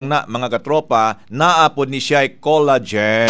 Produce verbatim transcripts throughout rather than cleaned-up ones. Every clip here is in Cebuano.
Na mga katropa, naa pod ni siya collagen.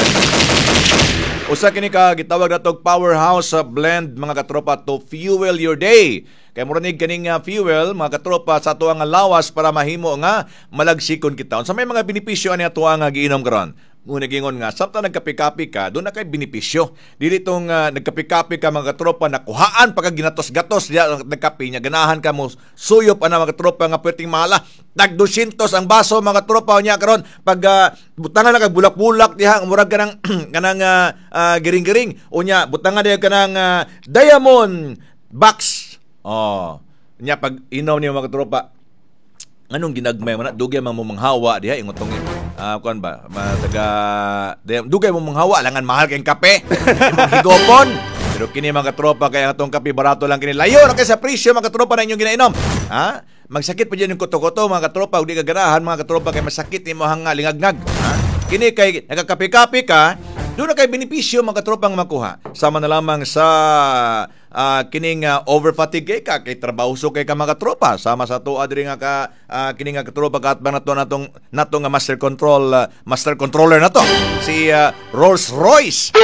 Usa kini ka gitawag natog powerhouse sa blend, mga katropa, to fuel your day. Kay mura ni kaning uh, fuel, mga katropa, sa ato nga lawas para mahimo nga malagsikon kita. Unsa may mga benepisyo ani ato nga giinom karon? Muna gingon nga samtang nagkape-kape ka, doon na kay benepisyo. Dili tong uh, nagkape-kape ka, mga katropa, nakuhaan pa ka ginatos-gatos diya nagkape niya, ganahan ka mo suyop ana, mga katropa, nga perting mahala. Tag dosyentos ang baso, mga katropa, nya karon pag uh, butangan na kag bulak-bulak diha, murag kanang kanang uh, uh, giring-giring, unya butangan diha kanang uh, diamond box. Oh. Nya pag inom niyo, mga katropa, anong ginagmay mo na, dugay man mo manghawa diha, ingon tong uh, kuan ba ma, taga dugay mo manghawa, langan mahal kay kape imong higopon. Pero kini, mga katropa, kay ang atong kape barato lang kini, layo na kay sa presyo, mga katropa, na inyong ginainom, ha. Magsakit pa dyan yung kuto-kuto, mga katropa, ug di ka ganahan, mga katropa, kay masakit nimo hanga lingagnag, ha. Kini kay nagkakape-kape ka, doon na kay benepisyo, mga katropa, nga makuha. Sama na lamang sa uh, kining uh, over fatigue ka kay trabaho so kay ka, mga katropa, sama sa tuwa diri nga ka uh, kining nga katropa kaatbang nato natong nato nga master control uh, master controller nato si uh, Rolls Royce.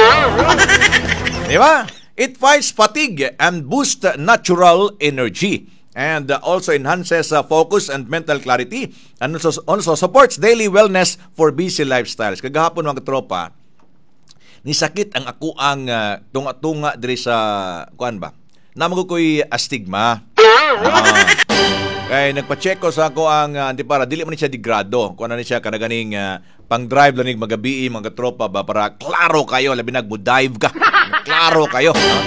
Di ba? It fights fatigue and boosts natural energy and uh, also enhances uh, focus and mental clarity and also, also supports daily wellness for busy lifestyles. Kagahapon, mga katropa, nisakit ang ako ang uh, tunga-tunga diri sa kuan ba. Namo ko'y astigma. Uh, kay nagpa-check ko sa ako ang uh, antipara, dili man ni siya digrado. Kuan na ni siya kanaganing uh, pang-drive lang nig magabii, mga tropa ba, para klaro kayo, labi nag dive ka. Klaro kayo. No?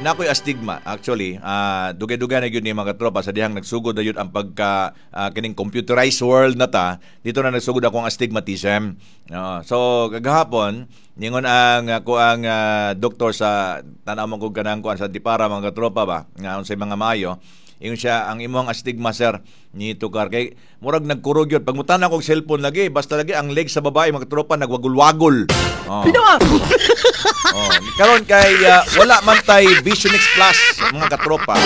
Na ako'y astigma actually, uh, dugay-dugay na gyud ni, mga tropa, sa dihang nagsugod na yun ang pagka uh, kining computerized world na ta dito na nagsugod akong astigmatism. Uh, so kagahapon ningon ang ako ang uh, doktor sa tan-aw mo kog kanang kuan sa dipara, mga tropa ba, nga unsay mga maayo. Ingon siya, "Ang imong astigma, sir, ni tukar kay murag nagkurog yun pag mutan akong cellphone lagi, basta lagi ang leg sa babae, mga tropa, nagwagul-wagol." Oh. Oh, karon kay uh, wala man tay Vision X Plus, mga katropa.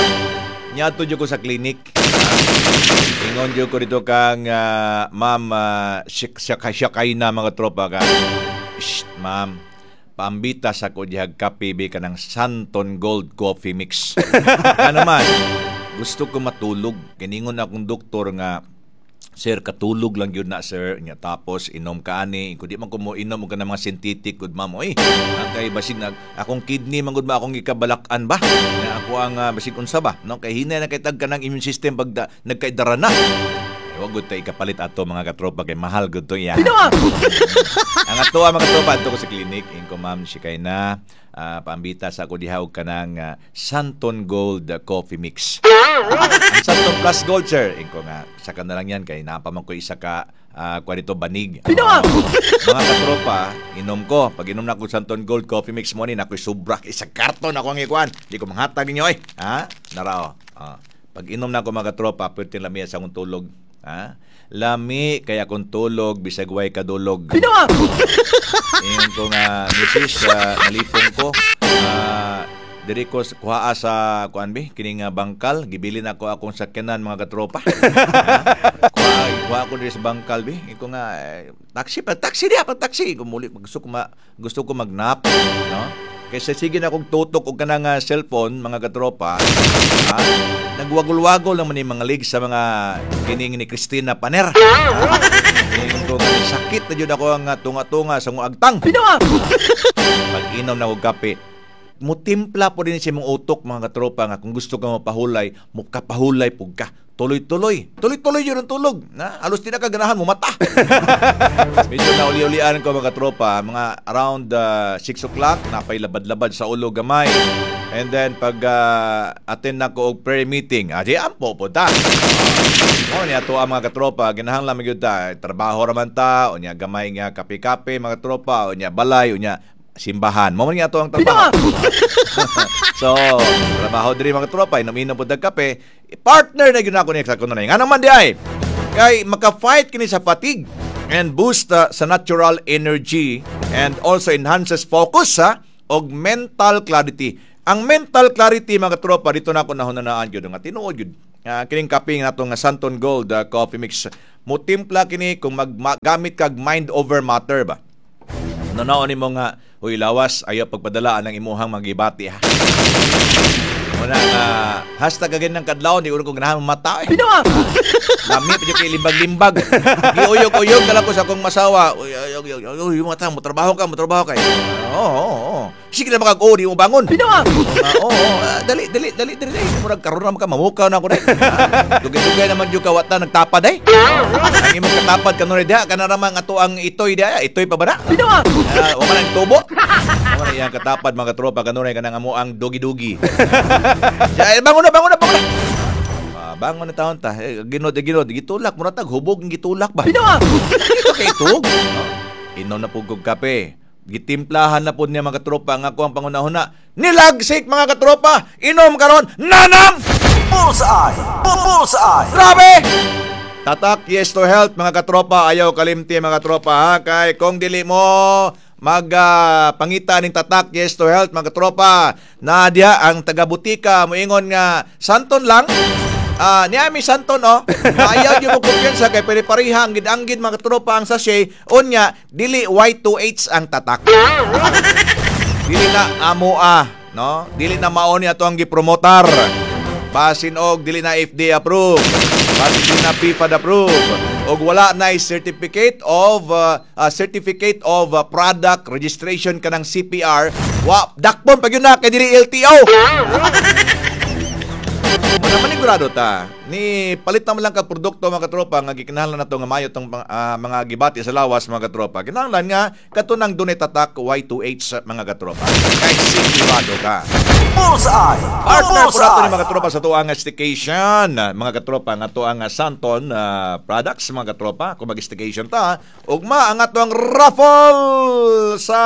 Niadto jud ko sa clinic. Ingon jud ko dito kang uh, ma'am uh, siya na, mga tropa ka. "Shh, ma'am, paambita sa ko dihag kape bi kanang Santon Gold Coffee Mix. Ano man, gusto ko matulog. Kiningon akong doktor nga, 'Sir, katulog lang yun na, sir.' Nya tapos inom ka ani. Kung di man ko mo inom og kanang mga synthetic gud, ma'am. Oy, kay basig nag akong kidney man gud ba akong gikabalak-an ba. Nya ako ang uh, basig unsa ba, no? Kay hinay na kay tag kanang immune system pag da, nagkaidara na. Ay, wag gud tay ikapalit ato, mga katropa, kay mahal gud to iya. Ang ato, mga katropa, adto ko sa clinic. Inko, 'Ma'am, si kay na uh, paambita sa ako diha og kanang uh, Santon Gold Coffee Mix.' 'Ang Santon Plus Gold, sir.' Inko nga, saka na lang yan kay napaman ko isa ka uh, kwa dito banig." Uh, mga katropa, inom ko. Pag inom na ako Santon Gold Coffee Mix mo ni, nakoy sobra isa karton ako ang ikuan. Di ko manghatag ninyo eh. Ha? Narao. Uh, pag inom na ako, mga katropa, pwede lami sa akong tulog. Ha? Lami kaya akong tulog bisag way kadulog. Ingon ko nga, "Misis, uh, nalipong ko. Uh, diri ko kuhaa sa kuan bi kining uh, bangkal, gibilin ako akong sakyanan, mga katropa. Kuha kuha ko diri sa bangkal bi." Iko nga eh, taxi pa, taxi diha pa, taxi ko muli, gusto ko ma, gusto ko magnap, no, kaysa sige na akong tutok og kanang uh, cellphone, mga katropa, ha? Nagwagol-wagol naman yung mga legs sa mga kining ni Christina Paner, ha? Ingon ko nga, sakit na jud ako ang tunga-tunga sa agtang. Pag inom na og kape, mutimpla po din siya mong utok, mga katropa, nga kung gusto ka mapahulay, mukapahulay pug ka. Tuloy-tuloy. Tuloy-tuloy yun ang tulog. Na, halos di na ka ganahan mo mata. Medyo na uli-ulian ko, mga katropa, mga around uh, six o'clock, napay labad-labad sa ulo gamay. And then pag uh, attend na ko og prayer meeting, adi ampo po ta. Mo ni ato ang mga katropa, ginahanglan man gyud ta, trabaho ra man ta, unya gamay nga kape-kape, mga tropa, unya balay, unya simbahan. Mo man nga ato ang trabaho. So, trabaho diri, mga tropa, inom-inom pud kape. Partner na gyud ako ni sa kuno na. Nga naman di ay kay maka-fight kini sa fatigue and boost uh, sa natural energy and also enhances focus sa og mental clarity. Ang mental clarity, mga tropa, dito na ako nahunanaan gyud nga tinuod gyud. Uh, kining kape nga natong Santon Gold uh, Coffee Mix. Mutimpla kini kung maggamit kag mind over matter ba. Nunaon nimo nga, "Uy lawas, ayaw pagpadala ang imuhang magibati ha." Muna nga hashtag again ng kadlawon, di ko ganahan mata eh. Lami pa kay limbag-limbag. Giuyog-uyog na lang ko sa akong masawa. "Uy, uy, uy, uy, uy, mata, mo trabaho ka, mo trabaho ka." Oo, oo, oo. Sige na makag di mo bangon. Oo, oo, ah, dali, dali, dali, dali, dali. Murag karon na ka mamukaw na ako dai. Ah, dugay-dugay naman jud ka wata nagtapad ay. Ang imong katapad kanunay diha kana ramang ato ang itoy diha, itoy pa ba na? Ah, wa man ang tubo. Wa man iyang katapad, mga katropa, kanunay kanang amo ang dugi-dugi. Ya, bangon na, bangon na, bangon na. Ah, bangon na taon ta. Eh, ginod, ginod, gitulak mo na tag hubog ng gitulak ba? Ito kay tug. Inom na pud kog kape. Gitimplahan na pud niya, mga katropa, ang ako ang pangunahuna. Nilagsik, mga katropa. Inom karon nanam. Bullseye! Bullseye! Grabe! Tatak Yes to Health, mga katropa, ayaw kalimti, mga katropa ha, kay kung dili mo mag ah, pangita ning Tatak Yes to Health, mga katropa, na diha ang taga-butika moingon nga Santon lang. Ah, niya mi Santon oh. Ayaw gyud mo kumpiyansa kay pare-pareha ang gid-anggid, mga katropa, ang sachet unya dili Y two H ang tatak. Dili na amo ah, no? Dili na mao ni ato ang gipromotar. Basin og dili na F D A approve. Basin dili na P F A D approve. Og wala na certificate of uh, uh, certificate of uh, product registration kanang C P R. Wa dakpon pag yun na kay dili L T O. Wala manigurado ta. Ni palit naman lang ka produkto, mga katropa, nga gikinahanglan nato nga mayo tong ah, mga gibati sa lawas, mga katropa. Kinahanglan nga katunang dunay tatak Y two H, mga katropa. Kay sigurado ka. Bullseye! Partner po nato ni Bullseye! mga katropa sa tuang staycation. Mga katropa nga tuang Santon ah, products, mga katropa, kung mag-staycation ta, ugma ang atuang raffle sa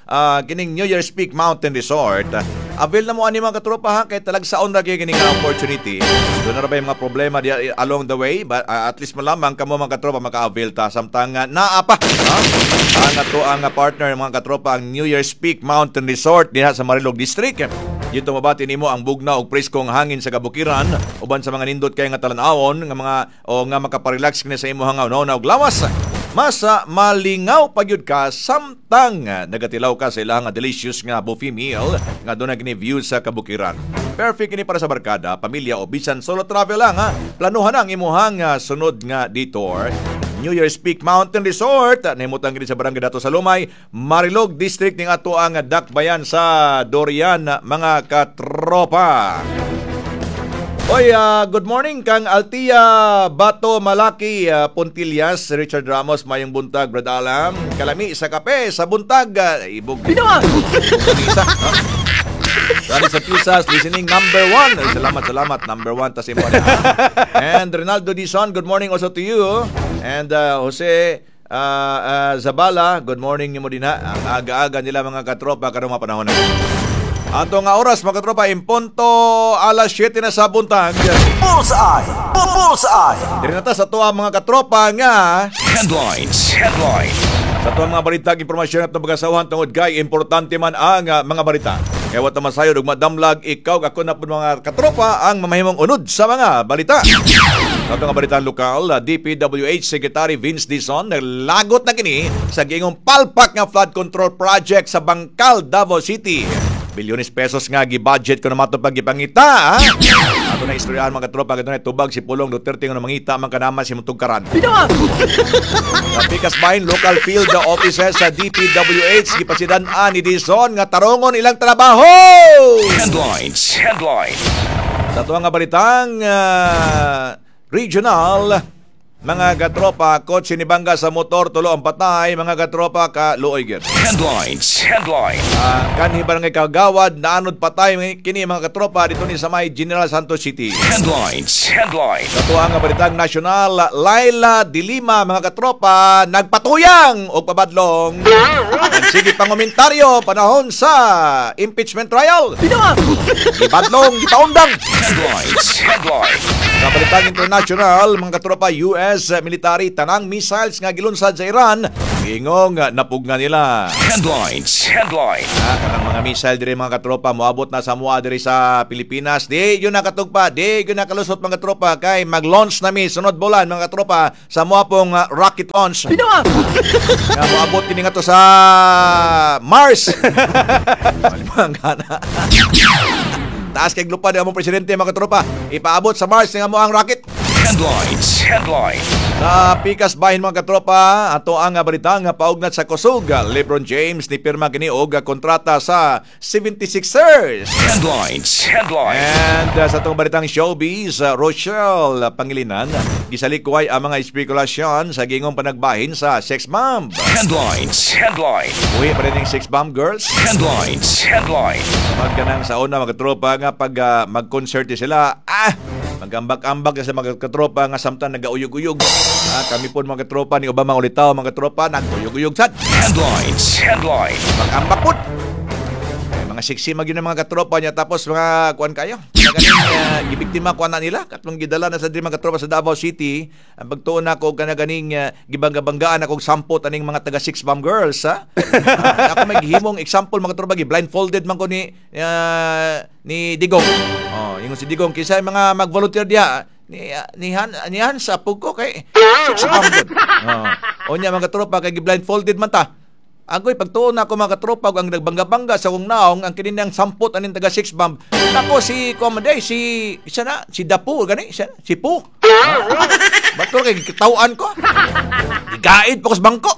ah, kining New Year's Peak Mountain Resort. Avail na mo ani, mga katropa ha, kay talagsaon ra gyud kining opportunity. Doon na ra ba yung mga problema di along the way, but ah, at least malamang kamo, mga katropa, maka-avail ta samtang uh, naa pa ha? Ang ato ang partner, mga katropa, ang New Year's Peak Mountain Resort diha sa Marilog District. Dito mabati nimo ang bugnaw og preskong hangin sa kabukiran uban sa mga nindot kay nga talan-awon nga mga o nga makaparelax kini sa imong una og lawas. Masa malingaw pagyud ka samtang ah, nagatilaw ka sa ilang nga delicious nga buffet meal nga doon na kini view sa kabukiran. Perfect kini para sa barkada, pamilya o bisan solo travel lang ha. Planuhan ang imuhang ah, sunod nga detour. New Year's Peak Mountain Resort. Nahimutang kini sa Barangay Dato sa Lumay, Marilog District ning ato ang dakbayan sa Dorian, mga katropa. Oy, ah, good morning kang Altia Bato Malaki ah, Pontillas, Richard Ramos, mayong buntag, Brad Alam. Kalami sa kape sa buntag, ah, ibog. Isa, no? Dali sa Pisas, listening number one. Ay, salamat, salamat. Number one, tas imo niya. And Ronaldo Dizon, good morning also to you. And uh, Jose uh, uh, Zabala, good morning nimo din ha. Ang aga-aga nila, mga katropa, karong mga panahon na. Ato nga oras, mga katropa, impunto alas siyete na sa buntag. Bullseye! Bullseye! Diri na ta sa tuwa, mga katropa, nga Headlines. Headline. Sa tuwang mga balita, impormasyon at pagkasawahan tungod kay importante man ang ah, mga balita. Kaya wa ta masayod ug madamlag ikaw ako na po, mga katropa, ang mamahimong unod sa mga balita. Sa atong nga balita lokal, ah, D P W H Secretary Vince Dizon naglagot na kini sa giingong palpak nga flood control project sa Bangkal, Davao City. Bilyones pesos nga gi-budget kuno matong pagipangita. Ha? Ato na istoryahan, mga katropa, kadto na tubag si Pulong Duterte nga mangita man kanaman si Mutugkaran. Sa Pikas Bahin, local field offices sa D P W H gipasidan-an ni Dizon nga tarongon ilang trabaho. Headlines. Headline. Sa tuwang nga balitang ah, regional, mga katropa, kotse ni bangga sa motor, tulo ang patay, mga katropa, ka luoy gyud. Headlines. Headline. Ah, kanhi barangay Kagawad, naanod patay kini, mga katropa, dito ni sa may General Santos City. Headlines. Headline. Sa tuwang nga balitang nasyonal, Laila de Lima, mga katropa, nagpatuyang og pabadlong. Sige pangomentaryo panahon sa impeachment trial. Gibadlong, gipaundang. Headlines. Headline. Sa balitang international, mga katropa, U S military tanang missiles nga gilunsad sa Iran Giingong ah, napugna nila. Headlines. Headline. Ah, kanang mga missile diri, mga katropa, moabot na sa mua diri sa Pilipinas. Di yun nakatugpa, di yun nakalusot, mga katropa, kay mag-launch na mi sunod bulan, mga katropa, sa mua pong ah, rocket launch. Nga moabot kini nga to sa Mars. Malimang gana. Taas kay lupad ang among presidente, mga katropa. Ipaabot sa Mars nga mo ang rocket. Headlines. Headline. Sa pikas bahin, mga katropa, ato ang balita nga paugnat sa kusog. LeBron James ni pirma kini og kontrata sa seventy-sixers. Headlines. Headline. And uh, sa atong balitang showbiz, uh, Rochelle Pangilinan gisalikuay ang mga espekulasyon sa gingong panagbahin sa sex bomb. Headlines. Headline. Uwi pa rin yung sex bomb girls. Headlines. Headline. Magkanang sa una, mga katropa, nga pag uh, mag-concert sila, ah, magambak-ambak sa mga katropa nga samtang nagauyog-uyog. Ah, kami po, mga katropa ni Obama ulitaw, mga katropa, naguyog-uyog sad. Headlines. Headline. Mag-ambak po. Eh, mga sexy magyud ang mga katropa niya, tapos mga kuan kayo. Ganing uh, gibiktima kuan na nila katong gidala na sa diri, mga katropa, sa Davao City. Ang pagtuon nako kana ganing uh, gibangga-banggaan akong sampot aning mga taga Six Bomb Girls, ha. Ah, ako may gihimong example, mga katropa, gi blindfolded man ko ni uh, ni Digong. Oh, ingon si Digong, "Kinsa mga mag-volunteer diha?" Ni ni Han ni Han sa ko kay six bomb gud. Oh. Unya, mga katropa, kay gi-blindfolded man ta. Agoy, pagtuon na ako, mga katropa, ang nagbangga-bangga sa akong naong ang kininang sampot aning taga six bomb. Nako si Commodore, si isa na, si Dapo gani, siya, si Po. Bato kay kitawan ko. Gigaid pa ko sa bangko.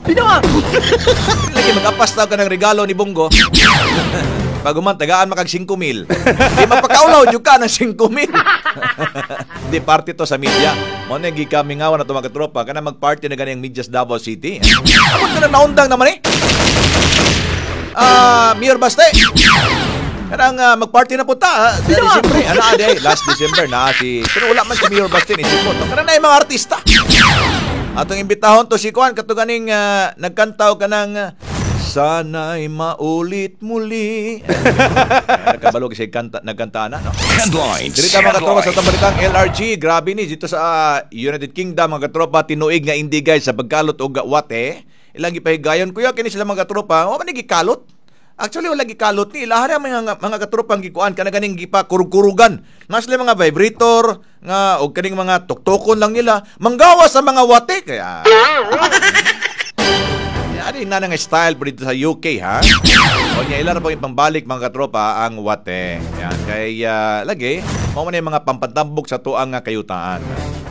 Lagi mag-apas ka ng regalo ni Bongo. Pag human, tagaan makag singko mil. Di mapakaulaw jud ka ng singko mil. Di party to sa media. Mo na gikamingawan na to, mga katropa, kana mag-party na gani ang media sa Davao City. Abot ka na naundang naman eh. Ah, Mayor Baste. Kanang uh, mag-party na punta. Ha? Sa December, ano ade, last December na si pero wala man si Mayor Baste ni si Poto. Kanang na yung mga artista. Atong imbitahon to si Kuan kato ganing uh, nagkantaw kanang uh, "Sana'y Maulit Muli." Nakabalo kasi kanta, nagkanta na, no? Headlines. Dirita, mga katropa, sa Headline. atong balitang L R G, grabe ni dito sa ah, United Kingdom, mga katropa, tinuig nga hindi guys sa pagkalot og wate. Ilang gipahigayon kuya kini sila, mga katropa, wa man ni gikalot. Actually, wala gikalot ni ilaha ra mga mga katropang gikuan kana ganing gipa kurug-kurugan. Nga sila mga vibrator nga og kaning mga tuktukon lang nila manggawa sa mga wate kaya ano yung nga style po dito sa U K, ha? O niya, ilan na pong ipambalik, mga katropa, ang wate. Yan, kay ah, lagi, mao man yung mga pampatambok sa tuang nga kayutaan.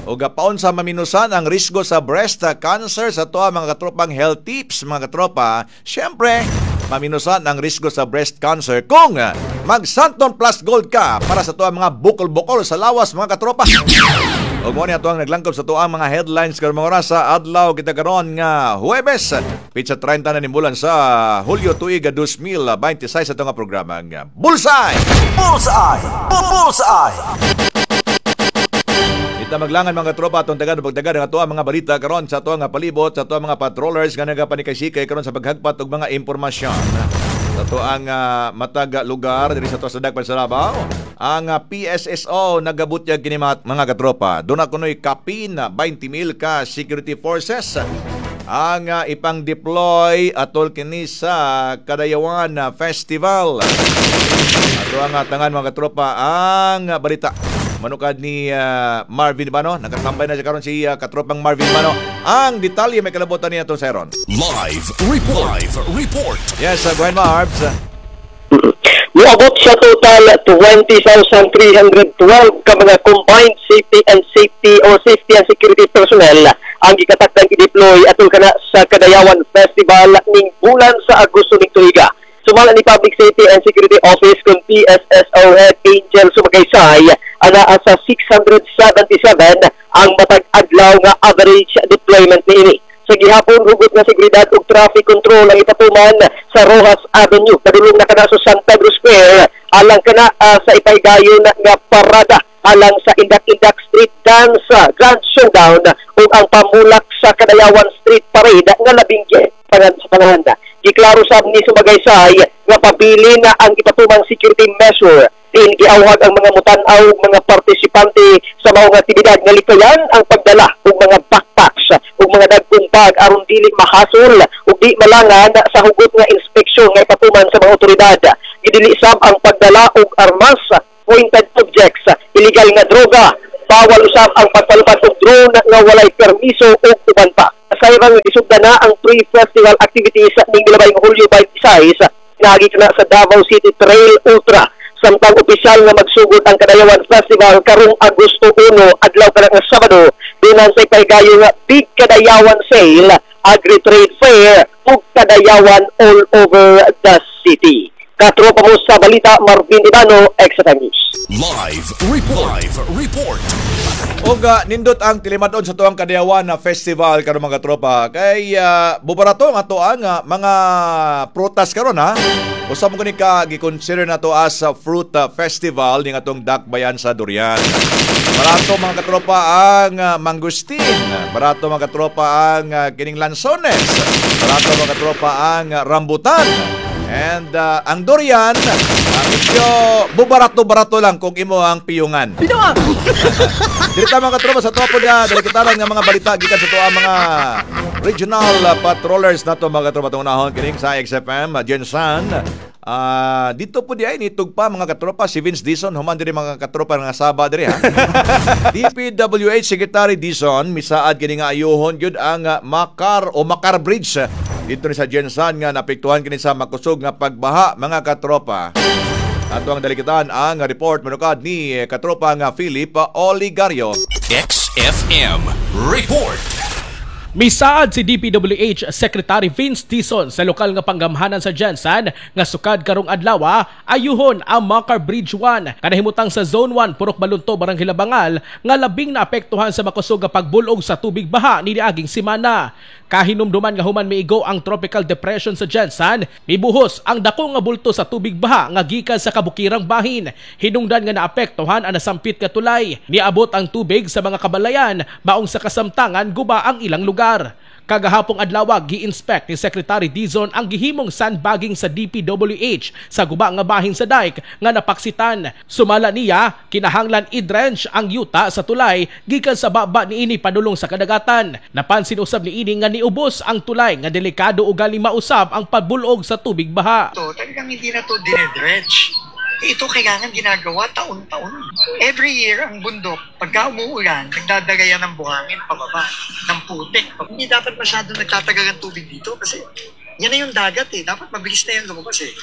O gapaon sa maminusan ang risgo sa breast cancer sa tuang mga katropang health tips, mga katropa. Siyempre, maminusan ang risgo sa breast cancer kung ah, mag Santon Plus Gold ka para sa tuang mga bukol-bukol sa lawas, mga katropa. Ug mo ni ato ang naglangkob sa tuang mga headlines karon mga oras sa adlaw kita karon nga Huwebes, petsa trenta na ning bulan sa Hulyo, tuig dalawang libo dalawampu't sais, sa nga programa nga Bullseye. Bullseye! Bullseye! Ita maglangan, mga tropa, atong tagan pagdagan ang ato ang mga balita karon sa ato nga palibot sa ato ang mga patrollers nga nagapanikaysikay karon sa paghagpat og mga impormasyon. Sa ato ang ah, matag lugar diri sa ato sa Dagpan sa Davao, ang ah, P S S O nagabutyag kini mga, mga katropa. Duna kunoy kapin na twenty mil ka security forces ang ah, ipang-deploy atol kini sa Kadayawan ah, Festival. Ato ang tangan, mga katropa, ang ah, balita. Manukad ni ah, Marvin Bano. Nakatambay na siya karon si ah, katropang Marvin Bano. Ang detalye may kalabutan niya itong Seron. Live report. Live report. Yes, uh, go ahead, Marbs. Muabot sa total twenty thousand three hundred twelve ka mga combined safety and safety or safety and security personnel ang gikatakdang i-deploy atol kana sa Kadayawan Festival ning bulan sa Agosto ning tuiga. Sumala ni Public Safety and Security Office kung P S S O Head Angel Sumagaysay, anaa sa six hundred seventy-seven ang matag adlaw nga average deployment niini. Sa gihapon, hugot nga seguridad ug traffic control ang ipatuman sa Roxas Avenue. Padulong na kana sa San Pedro Square alang kana ah, sa ipahigayon nga parada alang sa Indak-Indak Street Dance ah, Grand Showdown ug ang pamulak sa Kadayawan Street Parade nga labing pangan sa panahanda. Giklaro sab ni Sumagaysay nga pabili na ang ipatumang security measure. Din giawhag ang mga mutan-aw ug mga partisipante sa maong aktibidad nga likayan ang pagdala og mga backpacks ug ug mga dagkong bag aron dili mahasol ug di malangan sa hugot nga inspeksyon nga ipatuman sa mga otoridad. Gidili sab ang pagdala og armas, pointed objects, illegal nga droga, bawal usab ang pagpalupad og drone nga walay permiso ug uban pa. Sayran nga gisugdan na ang pre-festival activities ning milabay nga Hulyo twenty-six pinaagi na sa Davao City Trail Ultra. Samtang opisyal nga magsugod ang Kadayawan Festival karong Agosto uno, adlaw kana nga Sabado, dinan sa ipahigayon nga Big Kadayawan Sale, Agri Trade Fair ug Kadayawan all over the city. Katropa mo sa balita, Marvin Ibano, X F M News. Live Report. Live Report. Og uh, nindot ang tilimadon sa tuang Kadayawan na festival karon, mga tropa, kay uh, bubarato ang ato ang uh, mga prutas karon ha. Usa mo kini ka gi-consider nato as a fruit uh, festival ning atong dakbayan sa durian. Barato, mga katropa, ang uh, mangosteen, barato, mga katropa, ang uh, kining lansones, barato, mga katropa, ang uh, rambutan. And uh, ang durian, uh, medyo bubarato-barato lang kung imo ang piyungan. Dili ta, mga katropa, sa topo niya, dali kita lang nga mga balita gikan sa tuwa mga regional uh, patrollers nato, mga katropa, tunahon kining sa X F M uh, GenSan. Ah, dito po di ay nitugpa, mga katropa, si Vince Dizon human diri, mga katropa, nga saba diri ha. D P W H Secretary Dizon misaad kini nga ayuhon gyud ang uh, Makar o Makar Bridge uh, dito ni sa GenSan nga naapektuhan kini sa makusog nga pagbaha, mga katropa. Ato ang dalikitan ang report manukad ni eh, katropa nga Philip Oligario. X F M Report. Misaad si D P W H Secretary Vince Dizon sa lokal nga panggamhanan sa GenSan nga sukad karong adlaw ayuhon ang Makar Bridge one kanahimutang sa Zone one, Purok Balunto, Barangay Labangal nga labing naapektuhan sa makusog nga pagbulog sa tubig baha ni niaging semana. Kahinumduman nga human miigo ang tropical depression sa GenSan, mibuhos ang dako nga bulto sa tubig baha nga gikan sa kabukirang bahin. Hinungdan nga naapektuhan ang nasampit nga tulay. Niabot ang tubig sa mga kabalayan, maong sa kasamtangan guba ang ilang lugar. Kagahapong adlaw, gi-inspect ni Secretary Dizon ang gihimong sandbagging sa D P W H sa guba nga bahin sa dike nga napaksitan. Sumala niya, kinahanglan i-drench ang yuta sa tulay gikan sa baba niini padulong sa kadagatan. Napansin usab niini nga niubos ang tulay nga delikado ugali mausab ang pagbulog sa tubig baha. To, talagang hindi na to dinedredge. Ito kailangan ginagawa taon-taon. Every year, ang bundok, pagka umuulan, nagdadala yan ng buhangin pababa, ng putik. Hindi dapat masyado nagtatagal ang tubig dito kasi yan na yung dagat eh. Dapat mabilis na yan lumabas eh.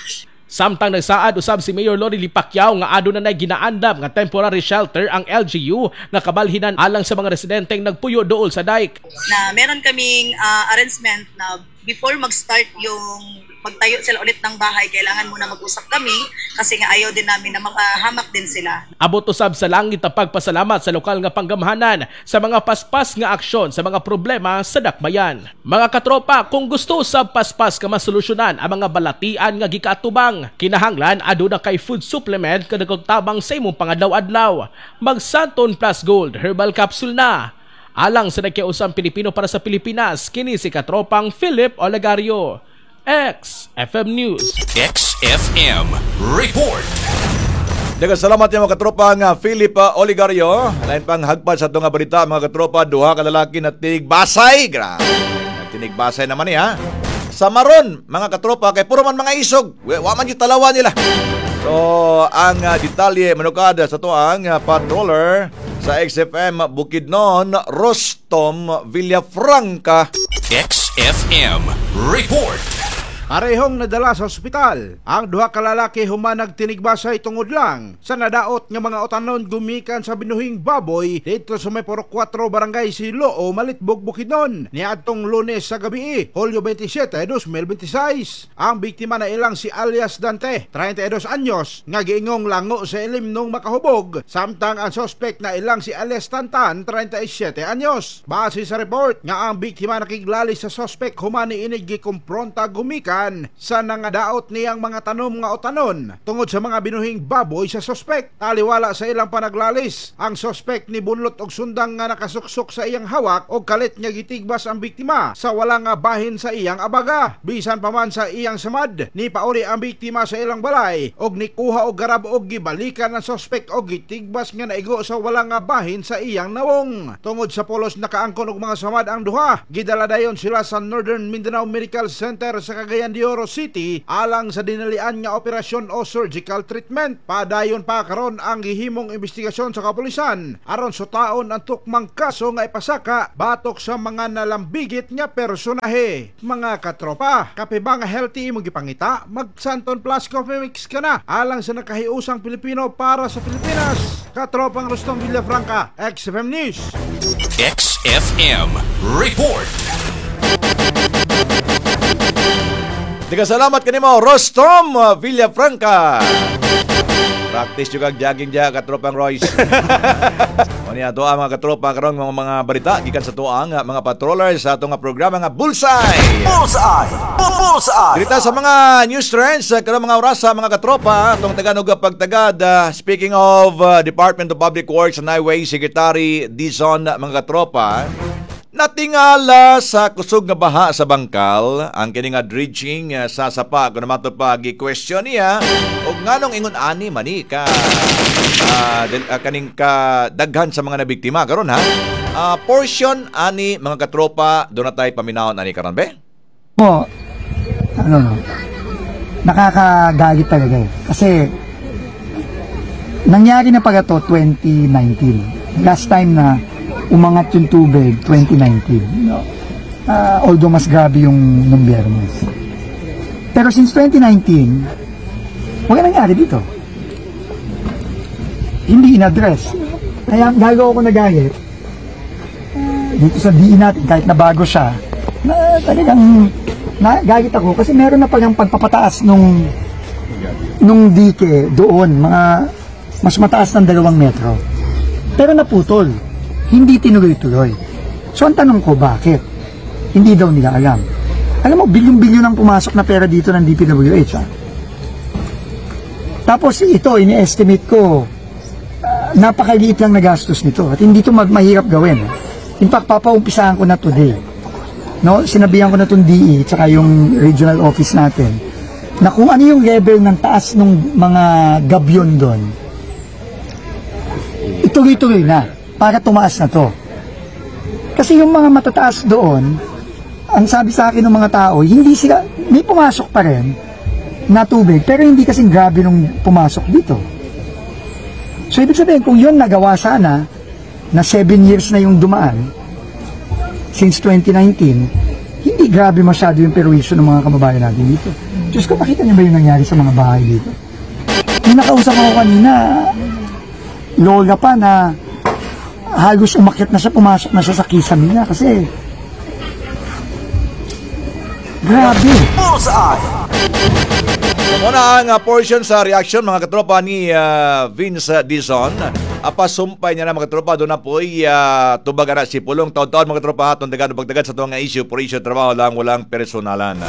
Samtang nagsaad usab si Mayor Lorelie Pacquiao nga aduna na ginaandam nga temporary shelter ang L G U nga kabalhinan alang sa mga residenteng nagpuyo duol sa dike. Na meron kaming ah, arrangement na before mag-start yung magtayo sila ulit ng bahay, kailangan muna mag-usap kami kasi nga ayaw din namin na mapahamak din sila. Abot usab sa langit ang pagpasalamat sa lokal nga panggamhanan sa mga paspas nga aksyon sa mga problema sa dakbayan. Mga katropa, kung gusto sa paspas ka masolusyonan ang mga balatian nga gikaatubang, kinahanglan aduna kay food supplement nga nagtabang sa imong pangadlaw-adlaw. Mag Santon Plus Gold Herbal Capsule na. Alang sa nagkiusang Pilipino para sa Pilipinas, kini si katropang Philip Olegario. X F M News. X F M Report. Daghang salamat yung mga katropa nga Philip uh, Oligario. Lain pang hagpad sa itong nga balita, mga katropa, duha ka lalaki na tinigbasay. Grabe. Tinigbasay naman niya. Sa maron, mga katropa, kay puro man mga isog. Wa man yung talawa nila. So, ang uh, detalye manukada sa to ang uh, patroller sa X F M Bukidnon, Rostom Villafranca. X F M Report. Parehong nadala sa ospital ang duha ka lalaki human nagtinigbasay tungod lang sa nadaot nga mga utanon gumikan sa binuhing baboy dito sa may Purok kwatro, Barangay Siloo, Malitbog, Bukidnon niadtong Lunes sa gabi, Hulyo twenty-seven, twenty twenty-six. Ang biktima na ilang si alias Dante, treinta y dos anyos, nga giingong lango sa ilim nung makahubog, samtang ang sospek na ilang si alias Tantan, treinta y siete anyos. Base sa report nga ang biktima nakiglali sa sospek human niini gikumpronta gumikan gibalikan sa nangadaot niyang mga tanom nga utanon tungod sa mga binuhing baboy sa sospek. Taliwala sa ilang panaglalis, ang sospek ni bunlot og sundang nga nakasuksok sa iyang hawak og kalit nga gitigbas ang biktima sa wala nga bahin sa iyang abaga. Bisan pa man sa iyang samad, ni pauli ang biktima sa ilang balay og nikuha og garab og gibalikan ang sospek og gitigbas nga naigo sa wala nga bahin sa iyang nawong. Tungod sa polos nakaangkon og mga samad ang duha, gidala dayon sila sa Northern Mindanao Medical Center sa Cagayan de Oro City alang sa dinalian nga operasyon o surgical treatment. Padayon pa karon ang gihimong investigasyon sa kapulisan aron sutaon ang tukmang kaso nga ipasaka batok sa mga nalambigit nga personahe. Mga katropa, kape ba nga healthy imong gipangita? Mag Santon Plus Coffee Mix ka na alang sa nakahiusang Pilipino para sa Pilipinas. Katropang Rustom Villafranca, X F M News. X F M Report. Diga salamat kanimo, Rostom uh, Villafranca. Practice juga jogging diya, katropang Royce. O niya ato ang mga katropa karon mga mga balita gikan sa tuang uh, mga patrollers sa atong nga programa nga Bullseye. Bullseye! Bullseye! Dirita sa mga news trends uh, karon mga orasa, mga katropa, atong Taganog pagtagad, uh, speaking of uh, Department of Public Works and Highway Secretary Dizon, mga katropa, natingala sa kusog nga baha sa Bangkal ang kini nga dredging uh, sa sapa kun matod pa gi-question niya og nganong ingon ani mani ka uh, del, uh, kaning ka daghan sa mga nabiktima karon ha. Uh, portion ani, mga katropa, do na tayo paminawon ani karon be. Mo, ano no, nakakagalit talaga eh. Kasi, nangyari na pala to twenty nineteen. Last time na umangat yung tubig, twenty nineteen. No? Ah, although mas grabe yung nung Biyernes. Pero since twenty nineteen, wala nangyari dito. Hindi in-address. Kaya lalo ako nagalit ah, dito sa D E natin, kahit na bago siya, na talagang nagalit ako kasi meron na palang pagpapataas nung nung dike doon, mga mas mataas ng dalawang metro. Pero naputol. Hindi tinuloy-tuloy. So ang tanong ko, bakit? Hindi daw nila alam. Alam mo, bilyon-bilyon ang pumasok na pera dito ng D P W H. Ah. Tapos ito, ini-estimate ko, ah, napakaliit lang na gastos nito at hindi ito mag- mahirap gawin. In fact, papaumpisahan ko na today. No, sinabihan ko na itong D E tsaka yung regional office natin na kung ano yung level ng taas ng mga gabion doon, ituloy-tuloy na para tumaas na to. Kasi yung mga matataas doon, ang sabi sa akin ng mga tao, hindi sila, may pumasok pa rin na tubig, pero hindi kasing grabe nung pumasok dito. So, ibig sabihin, kung yun nagawa sana, na seven years na yung dumaan, since twenty nineteen, hindi grabe masyado yung perwisyo ng mga kababayan natin dito. Diyos ko, makita niyo ba yung nangyari sa mga bahay dito? Yung nakausap ako kanina, lola pa na halos umakyat na siya, pumasok na siya sa kisame niya kasi grabe. Bullseye! So, muna ang uh, portion sa reaction, mga katropa, ni uh, Vince Dizon. Apasumpay niya na, mga katropa, doon na po uh, tubag si Pulong taon-taon, mga katropa, atong dagan pagtagad sa tuwang issue por issue trabaho lang, walang personalan.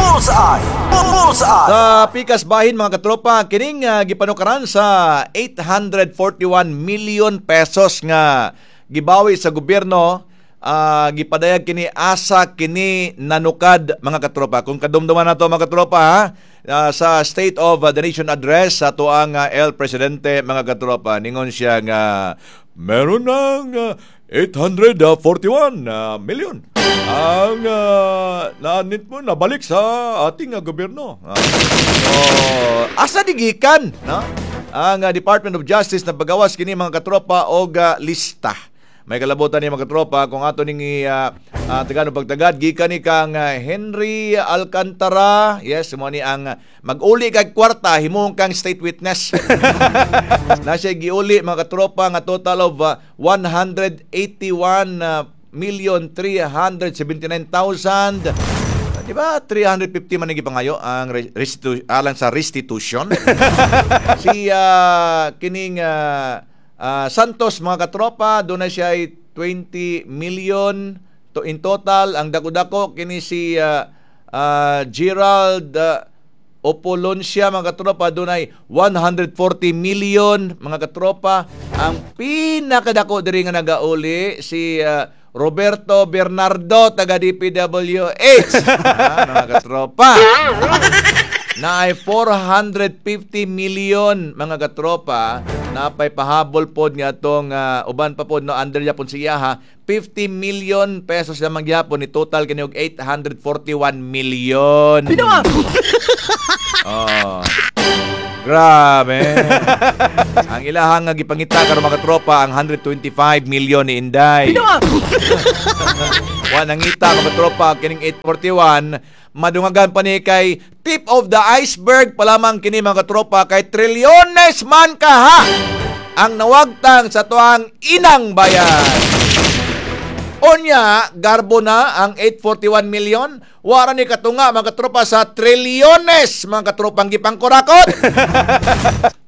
Bullseye! Bullseye! Sa pikas bahin, mga katropa, kining uh, gipanukaran sa eight hundred forty-one million pesos nga gibawi sa gobyerno, uh, gipadayag kini asa kini nanukad, mga katropa. Kung kadumduman nato, mga katropa ha, uh, sa State of the Nation Address sa tuang uh, El Presidente, mga katropa, ningon siya nga meron ng uh, eight hundred forty-one uh, million ang uh, naanit mo nabalik sa ating uh, gobyerno. Uh, so, asa di gikan, no? Ang uh, Department of Justice na pagawas kini, mga katropa, og uh, lista. May kalabutan ni, mga katropa, kung ato ning uh, uh, tagano pagtagad gikan ni kang uh, Henry Alcantara. Yes, mo ni ang uh, mag-uli kag kwarta, himong kang state witness. Na siya giuli, mga katropa, nga total of uh, one hundred eighty-one uh, million three hundred seventy-nine thousand. Di ba three hundred fifty man ang gipangayo ang restitu- alang sa restitution? Si uh, kining uh, uh, Santos, mga katropa, doon na siya ay twenty million to in total. Ang dako-dako kini si uh, Uh, Gerald uh, Opoloncia, mga katropa, dunay one hundred forty million, mga katropa. Ang pinakadako diri nga nagauli si uh, Roberto Bernardo, taga D P W H. Ah, mga katropa. Na ay four hundred fifty million, mga katropa, napay pahabol pod nga atong uh, uban pa pod, no, under yapon siya ha, fifty million pesos lamang gyapon ni total kini og eight hundred forty-one million. Oh. Grabe. Ang ilahang nga gipangita karon, mga tropa, ang one hundred twenty-five million ni Inday. Wa nangita, mga tropa, kining eight forty-one madungagan pa ni kay tip of the iceberg pa lamang kini, mga tropa, kay trilyones man kaha ang nawagtang sa tuang inang bayan. Unya, garbo na ang eight hundred forty-one million. Wara ni katunga, mga katropa, sa trilyones, mga katropang gipangkurakot.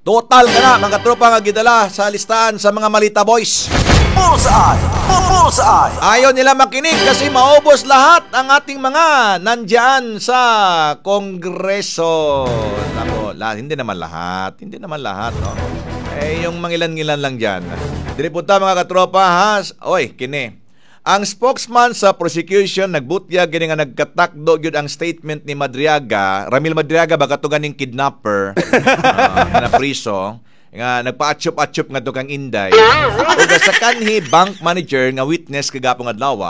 Total ka na, mga katropa, nga gidala sa listahan sa mga Malita Boys. Bullseye! Bullseye! Ayaw nila makinig kasi maubos lahat ang ating mga nandyan sa Kongreso. Nako, la, hindi naman lahat. Hindi naman lahat, no? Eh, yung mangilan-ngilan lang dyan. Diri punta, mga katropa, ha? Oy, kini. Ang spokesman sa prosecution nagbutyag gini nga nagkatakdo gyud ang statement ni Madriaga, Ramil Madriaga ba, kato ganing kidnapper uh, na priso nga nagpa-atsyop-atsyop nga kang Inday. Ug sa kanhi bank manager nga witness kagapong adlaw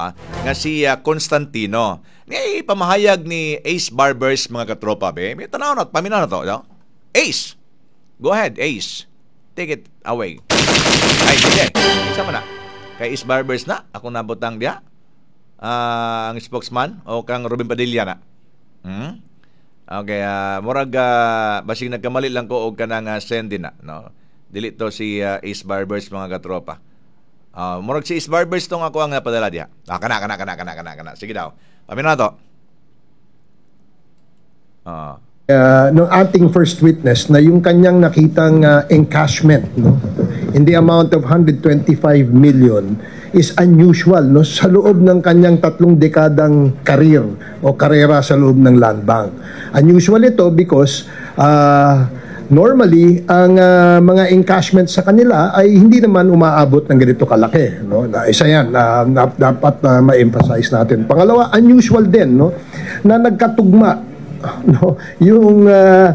nga si uh, Constantino. Ni pamahayag ni Ace Barbers, mga katropa, be. May tanaw na, paminaw na to, no? Ace. Go ahead, Ace. Take it away. Ay, sige. Isa mo na. Kay Ace Barbers na, ako nabutang diya. Uh, ang spokesman o kang Robin Padilla na. Hmm? Okay, uh, murag uh, basig nagkamali lang ko og kanang uh, send din na, no. Dili to si uh, Ace Barbers, mga katropa. Uh, murag si Ace Barbers tong ako ang napadala diha. Ah, kana kana kana kana kana kana. Sige daw. Paminaw na to. Ah. uh, ng ating first witness na yung kanyang nakitang uh, encashment, no, in the amount of one hundred twenty-five million is unusual, no, sa loob ng kanyang tatlong dekadang career o karera sa loob ng Land Bank. Unusual ito because uh, normally ang uh, mga encashment sa kanila ay hindi naman umaabot ng ganito kalaki, no. Na isa yan na, na dapat uh, ma-emphasize natin. Pangalawa, unusual din, no, na nagkatugma, no, yung uh,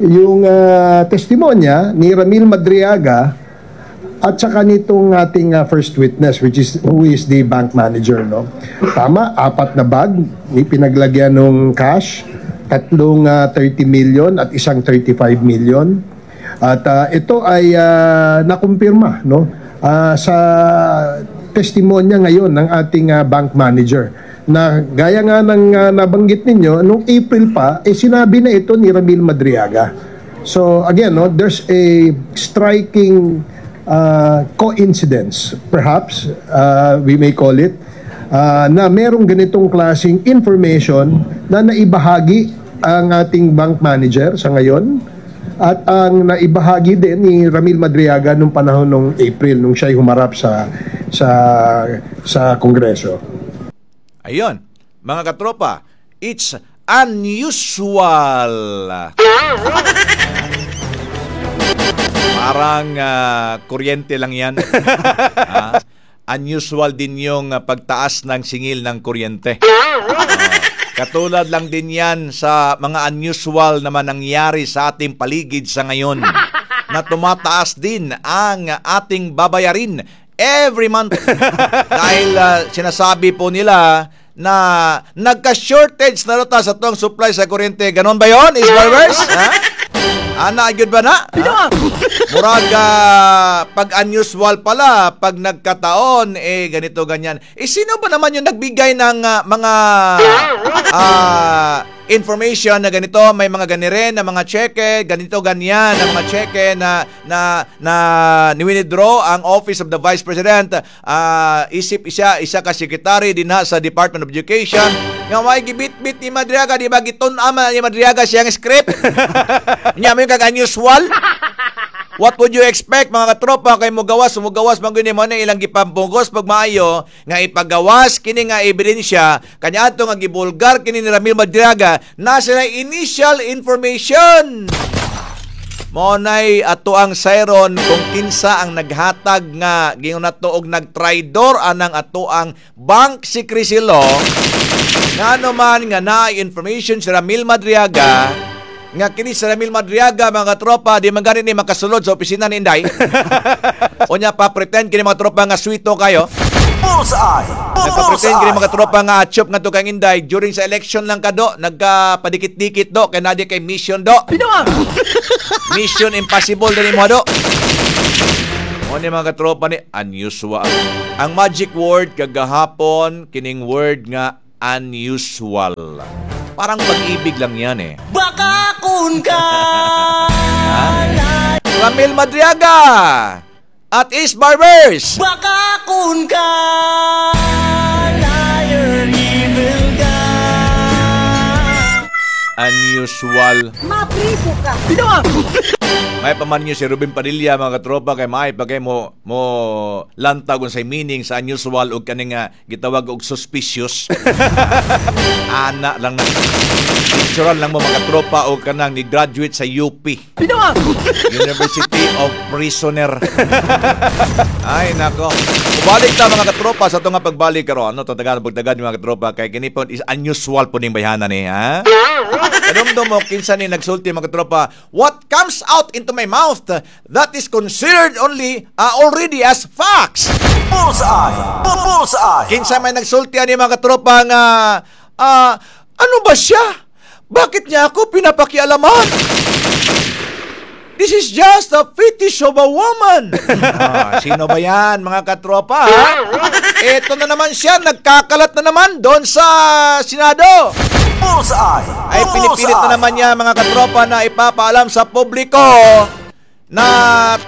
yung uh, testimonya ni Ramil Madriaga at saka nitong ating uh, first witness, which is who is the bank manager, no. Tama, apat na bag ni pinaglagyan ng cash, tatlong uh, thirty million at isang thirty-five million. At uh, ito ay uh, nakumpirma, no, uh, sa testimonya ngayon ng ating uh, bank manager na gaya nga ng uh, nabanggit ninyo, nung April pa, eh sinabi na ito ni Ramil Madriaga. So again, no, there's a striking uh, coincidence, perhaps uh, we may call it, uh, na merong ganitong klaseng information na naibahagi ang ating bank manager sa ngayon at ang naibahagi din ni Ramil Madriaga nung panahon nung April nung siya'y humarap sa sa sa Kongreso. Ayun, mga katropa, it's unusual. Parang uh, kuryente lang yan. Ah, unusual din yung uh, pagtaas ng singil ng kuryente. Uh, katulad lang din yan sa mga unusual naman nangyari sa ating paligid sa ngayon na tumataas din ang ating babayarin every month. Dahil uh, sinasabi po nila na nagka-shortage na rota sa tong supply sa kuryente. Ganon ba yon, Is Barbers? Ha? Ana, gyud ba na? Ha? Murag uh, pag unusual pala, pag nagkataon, eh ganito, ganyan. Eh sino ba naman yung nagbigay ng uh, mga uh, information na ganito, may mga ganiren na mga cheque, ganito, ganyan na mga cheque na na na ni-withdraw ang Office of the Vice President, uh, isip isa isa ka secretary din ha sa Department of Education nga may gibit-bit ni Madriaga, di ba gitun-an ni Madriaga siyang script? Nya mo yung kag unusual. What would you expect, mga katropa, kay mugawas, mugawas man gyud mo na ilang gipampugos pag maayo nga ipagawas kini nga ebidensya kanya ato nga gibulgar kini ni Ramil Madriaga na sila initial information. Mao nay ato ang sayron kung kinsa ang naghatag nga giingon nato og nagtraidor anang ato ang bank secrecy law, ngano man nga naay information si Ramil Madriaga, nga kini si Ramil Madriaga, mga tropa, di man gani ni makasulod sa opisina ni Inday. Unya pa pretend kini, mga tropa, nga swito kayo. Bullseye! Nagpa-pretend kini, Bullseye! mga tropa, nga atsyop nga to kang Inday during sa election lang kado nagkapadikit-dikit do kay nadi kay mission do. Mission impossible din mo do. Mo ni, mga katropa, ni unusual. Ang magic word kagahapon kining word nga unusual. Parang pag-ibig lang yan eh. Baka kun ka Ramil Madriaga at East Barbers. Baka kun ka liar, evil guy. Unusual. Mapriso ka. May paman niyo si Ruben Padilla, mga katropa, kay maay pa kay mo mo lantag unsay meaning sa unusual og kaning nga gitawag og suspicious. Ana lang na. Picturean lang mo, mga katropa, og kanang ni graduate sa U P. University of Prisoner. Ay nako. Balik ta, mga katropa, sa itong nga pagbalik karon. Ano to tagaan pagtagan, mga katropa, kay kini po is unusual po ning bayhana ni, ha? Kadumdum mo kinsa ni nagsulti, mga katropa? "What comes out into my mouth, that is considered only uh, already as facts." Bullseye! Bullseye! Kinsa may nagsulti ani, mga katropa, nga ah, ano ba siya? Bakit niya ako pinapakialaman? This is just a fetish of a woman. Ah, sino ba yan, mga katropa? Ha? Ito na naman siya, nagkakalat na naman doon sa Senado. Bullseye! Ay pinipilit na naman niya, mga katropa, na ipapaalam sa publiko na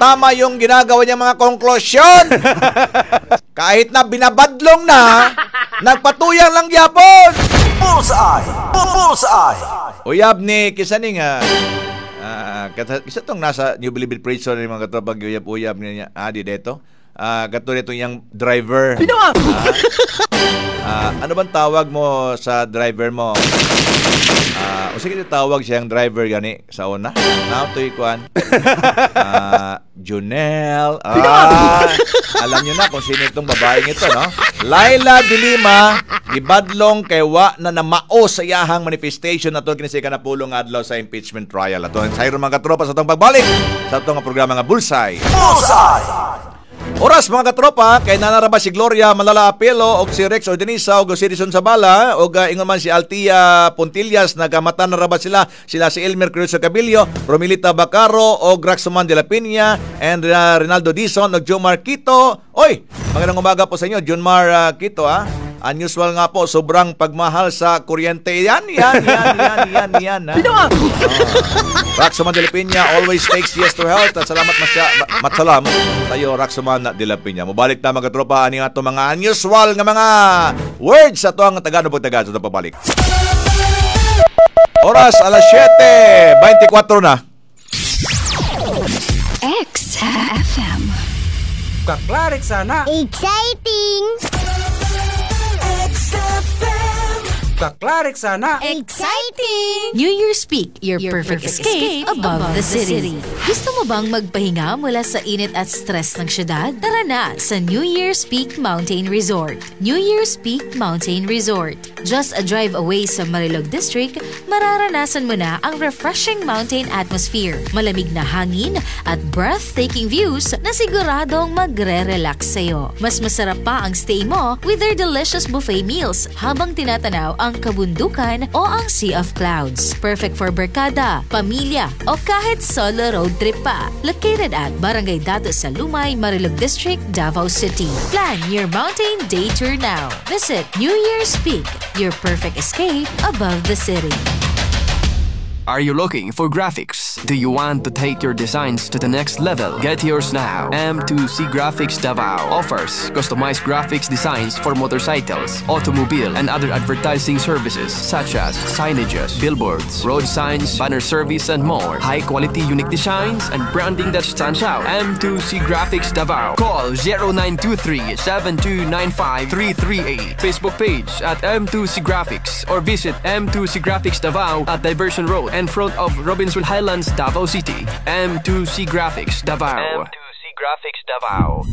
tama yung ginagawa niya mga konklusyon. Kahit na binabadlong na, nagpatuyang lang gyapon. Bullseye! Bullseye! Uyab ni kisa ni nga ah kata isa tong nasa New Bilibid Prison ni, mga katropa, uyab-uyab niya ah di dito. Ah, kato nito yung driver. Ah, ah, ano bang tawag mo sa driver mo? Ah, o sige, tawag siyang driver gani sa una. Now to ikuan. Ah, Junel. Ah, alam niyo na kung sino itong babaeng ito, no? Laila de Lima, gibadlong kay wa na namao sa iyahang manifestation na kini sa ikanapulong adlaw sa impeachment trial. Ato ang sayro, mga katropa, sa atong pagbalik sa atong programa nga Bullseye. Bullseye! Oras, mga katropa, kay nanaraba si Gloria Malala Apelo og si Rex Ordinisa og si Edison Sabala og uh, ingon man si Altia Pontillas, nagamata na raba sila sila si Elmer Cruz Cabillo, Romilita Bacaro og Raxuman de la Peña and uh, Rinaldo Dison og Jomar Quito. Oy, magandang umaga po sa inyo, Junmar uh, Quito, ah. Unusual nga po, sobrang pagmahal sa kuryente. Yan, yan, yan, yan, yan, yan. Ha? Oh. Raxuman de la Peña always takes yes to health. At salamat masya, matsalam tayo, Raxuman de la Peña. Mubalik ta, mga tropa, ani ato mga unusual nga mga words sa ato ang Tagalog pagtagal sa pabalik. Oras alas siyete twenty-four na. X F M. Kaklarik sana. Exciting! Kaklarik sana. Exciting! New Year's Peak, your, perfect, escape, above, the city. Gusto mo bang magpahinga mula sa init at stress ng syudad? Tara na sa New Year's Peak Mountain Resort. New Year's Peak Mountain Resort. Just a drive away sa Marilog District, mararanasan mo na ang refreshing mountain atmosphere, malamig na hangin at breathtaking views na siguradong magre-relax sa'yo. Mas masarap pa ang stay mo with their delicious buffet meals habang tinatanaw ang kabundukan o ang Sea of Clouds. Perfect for barkada, pamilya, o kahit solo road trip pa. Located at Barangay Dato sa Lumay, Marilog District, Davao City. Plan your mountain day tour now. Visit New Year's Peak, your perfect escape above the city. Are you looking for graphics? Do you want to take your designs to the next level? Get yours now. M two C Graphics Davao offers customized graphics designs for motorcycles, automobile, and other advertising services such as signages, billboards, road signs, banner service, and more. High quality, unique designs and branding that stands out. M two C Graphics Davao. Call zero nine two three seven two nine five three three eight. Facebook page at M two C Graphics or visit M two C Graphics Davao at Diversion Road in front of Robinson Highlands, Davao City. M two C Graphics Davao. M two C Graphics Davao.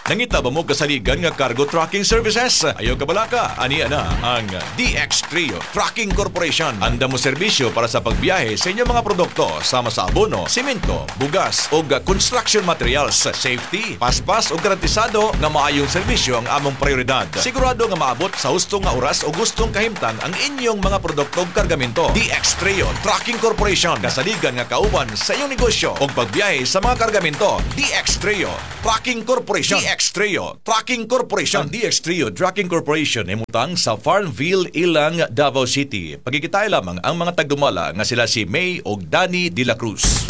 Nangita ba mo kasaligan nga cargo trucking services? Ayaw kabalaka, ania na ang D X Trio Trucking Corporation. Anda mo serbisyo para sa pagbiyahe sa inyong mga produkto sama sa abono, simento, bugas o construction materials. Safety, paspas o garantisado nga maayong serbisyo ang among prioridad. Sigurado nga maabot sa husto nga oras o gustong kahimtang ang inyong mga produkto ug kargamento. D X Trio Trucking Corporation. Kasaligan nga kauban sa inyong negosyo o pagbiyahe sa mga kargamento. D X Trio Trucking Corporation. D X Trio Trucking Corporation. Ang D X Trio Trucking Corporation imutang sa Farmville, Ilang, Davao City. Pagkikitay lamang ang mga tagdumala nga sila si May og Danny De La Cruz.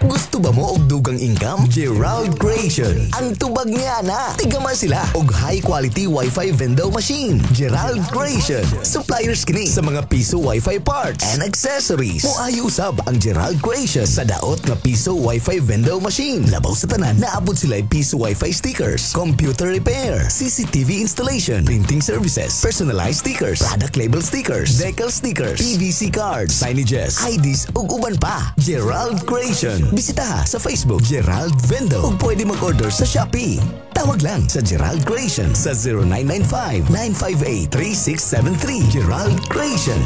Gusto ba mo og dugang income? Gerald Creation. Ang tubag niya na. Tigaman sila og high quality Wi-Fi vendor machine. Gerald Creation. Suppliers kini sa mga piso Wi-Fi parts and accessories. Moayo usab ang Gerald Creation sa daot nga piso Wi-Fi vendor machine. Labaw sa tanan, naabot sila piso Wi-Fi stickers, computer repair, C C T V installation, printing services, personalized stickers, product label stickers, decal stickers, P V C cards, signages, I Ds ug uban pa. Gerald Creation. Bisita sa Facebook Gerald Vendo ug pwede mag-order sa Shopee. Tawag lang sa Gerald Creation sa zero nine nine five, nine five eight, three six seven three. Gerald Creation.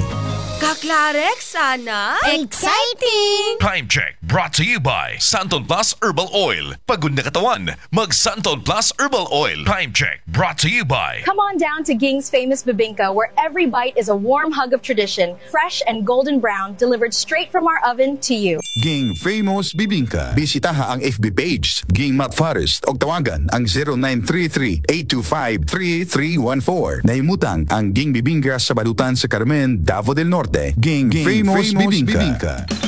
Kaklarek sana. Exciting! Time check brought to you by Santon Plus Herbal Oil. Pagod na katawan, mag Santon Plus Herbal Oil. Time check brought to you by Come on down to Ging's Famous Bibingka, where every bite is a warm hug of tradition, fresh and golden brown, delivered straight from our oven to you. Ging Famous Bibingka. Bisitaha ang F B page Ging Matt Forest og tawagan ang zero nine three three, eight two five, three three one four. Nahimutang ang Ging Bibingka sa balutan sa Carmen, Davao del Norte. Ging, Ging Famous, Famous Bibingka. Bibingka.